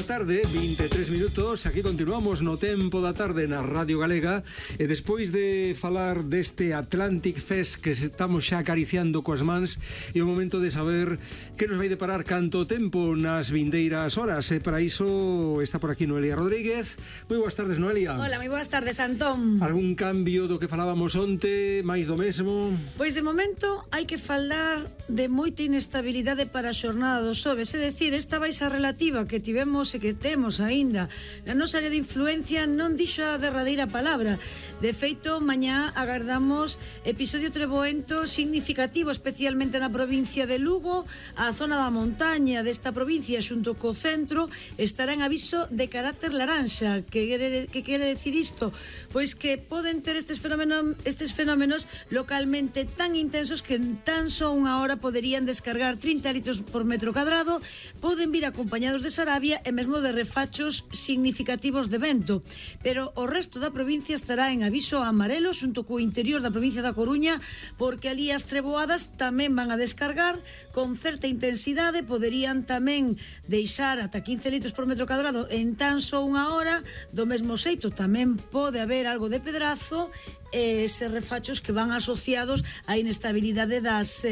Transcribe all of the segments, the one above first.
Tarde, 23 minutos. Aquí continuamos no tempo da tarde na Radio Galega. E despois de falar deste Atlantic Fest que estamos xa acariciando coas mans, é o momento de saber que nos vai deparar canto tempo nas vindeiras horas. E para iso está por aquí Noelia Rodríguez. Moi boas tardes, Noelia. Hola, moi boas tardes, Antón. Algún cambio do que falábamos onte, máis do mesmo? Pois de momento hai que falar de moita inestabilidade para a xornada do xoves, é dicir, esta baixa relativa que tivemos e que temos aínda na nosa área de influencia non dixo a derradeira palabra. De feito, mañá agardamos episodio treboento significativo, especialmente na provincia de Lugo. A zona da montaña desta provincia xunto co centro estará en aviso de carácter laranxa. Que quere decir isto? Pois que poden ter estes fenómenos localmente tan intensos que en tan só unha hora poderían descargar 30 litros por metro cadrado, poden vir acompañados de sarabia e mesmo de refachos significativos de vento. Pero o resto da provincia estará en aviso amarelo xunto co interior da provincia da Coruña, porque ali as treboadas tamén van a descargar con certa intensidade, poderían tamén deixar ata 15 litros por metro cadrado en tan só unha hora. Do mesmo xeito tamén pode haber algo de pedrazo e eses refachos que van asociados á inestabilidade das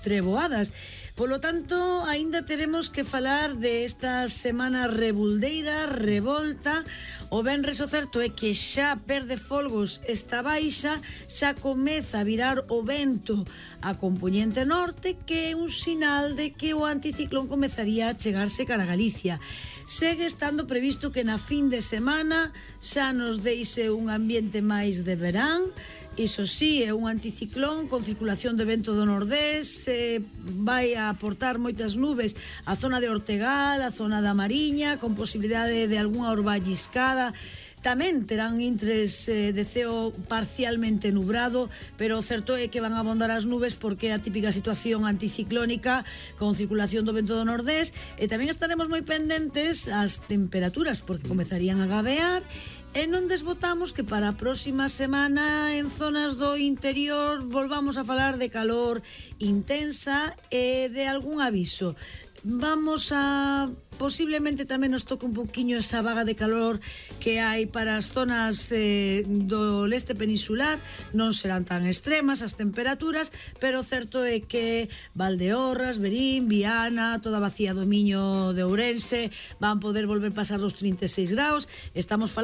treboadas. Polo tanto, aínda teremos que falar de esta semana rebuldeira, revolta. O venres o certo é que xa perde folgos esta baixa, xa comeza a virar o vento a compoñente norte, que é un sinal de que o anticiclón comezaría a chegarse cara a Galicia. Segue estando previsto que na fin de semana xa nos deixe un ambiente máis de verán. Iso sí, é un anticiclón con circulación de vento do nordés, vai a aportar moitas nubes á zona de Ortegal, á zona da Mariña, con posibilidade de algunha orba lliscada. Tamén terán intres de ceo parcialmente nubrado, pero o certo é que van a abondar as nubes porque é a típica situación anticiclónica con circulación do vento do nordés. E tamén estaremos moi pendentes ás temperaturas, porque comezarían a gabear. E non desbotamos que para a próxima semana en zonas do interior volvamos a falar de calor intensa e de algún aviso. Vamos a... posiblemente tamén nos toque un poquinho esa vaga de calor que hai para as zonas do leste peninsular. Non serán tan extremas as temperaturas, pero o certo é que Valdeorras, Verín, Viana, toda a bacía do Miño de Ourense van poder volver pasar dos 36 graus. Estamos falando